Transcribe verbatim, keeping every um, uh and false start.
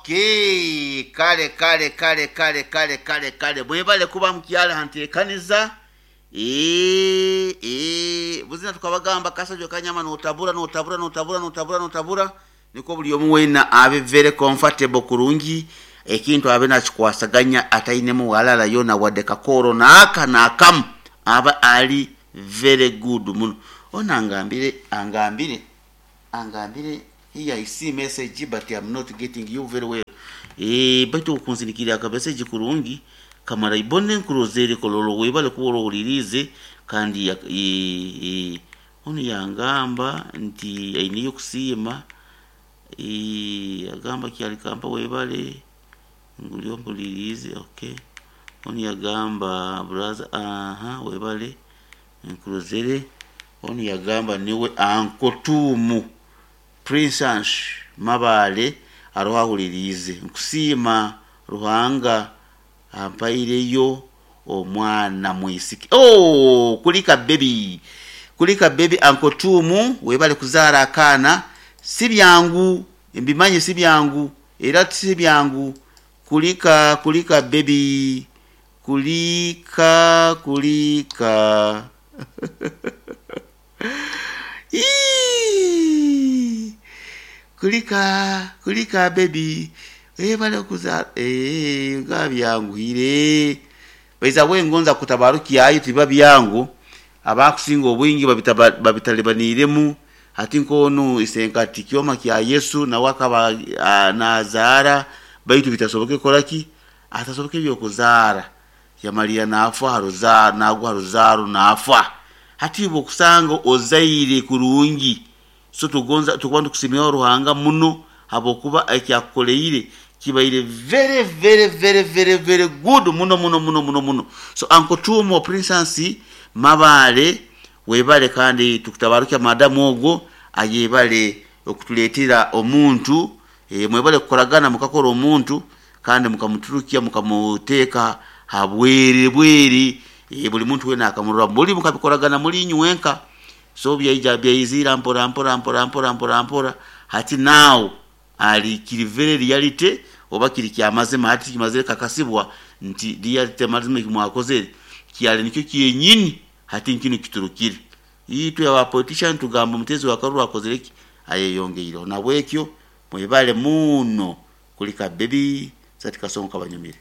Okay, kale kale kale kale kale kale kale, mwebale kuba mukyala hanteekaniza. Eh, eh, buzina tukabagamba kasajja kanyama notabura notabura notabura notabura notabura niko buli omu weena abe very comfortable kurungi, ekintu abe nakikwasaganya atainemu walala yona wadde kakoro naaka nakamu, aba ali very good muno. Ono angambire angambire angambire here I see message but I'm not getting you very well. Eh, baitu okunsinikira aka message kurungi kamara ibone nkurozere kololo webale kuba owulirize kandi ya- eh, eh, ono yangamba nti ainiyo kusiima. Eh, agamba kyalikamba webale ngulio mpulirize. Okay, ono yagamba brother, aha, webale nkurozere. Ono yagamba niwe ankotumu Princess Mabale aroho ahuliriize, nkusiima Ruhanga ampaireyo omwana mwisiki. Oh, kulika baby, kulika baby ankotumu, webale kuzaara akaana. Si byangu, mbimanyi si byangu, era si byangu. Kulika kulika baby, kulika kulika. Ii! Kulika kulika baby, webale kuzaara. Eh, nga byanguhire baiza bwengonza kutabarukyayo tiba byangu, abakusinga obwingi babitaba- babitalibaniremu. Hati nkonu isenkati kyoma kya Yesu nawe akaba ah, nazaara baitu bitasoboke kolaki atasoboke byokuzaara, yamalira nafa haruzaaro nagwa haruzaaro nafa. Hati iwe okusanga ozaire kurungi, so tugonza tukuba nitukusimiraho Ruhanga muno habwokuba ekyakukoleire kibaire very very very very very good muno muno muno muno muno. So Uncle Tumo Princess Mabale webale, kandi tukutabarukya madamu ogwo ayebale okutuleetera omuntu. E, mwebale kukoragana mukakora omuntu kandi mukamuturukya mukamuteeka habwere bwere. E, buli muntu wena akamurora buli mukabikoragana muli inywenka, so byaija byaizira mpora mpora mpora mpora mpora mpora. Hati now ali kiri very reality oba kiri kyamazima, hati kimazire kakasibwa nti reality mazima ekimwakozere kyali nikyo kyenyini, hati nkino kiturukire. Itwe aba politician tugamba omutezi wa karuru akozere ki ayeyongeireho, nabwekyo mwebale muno kulika baby sati kasongo kabanyumire.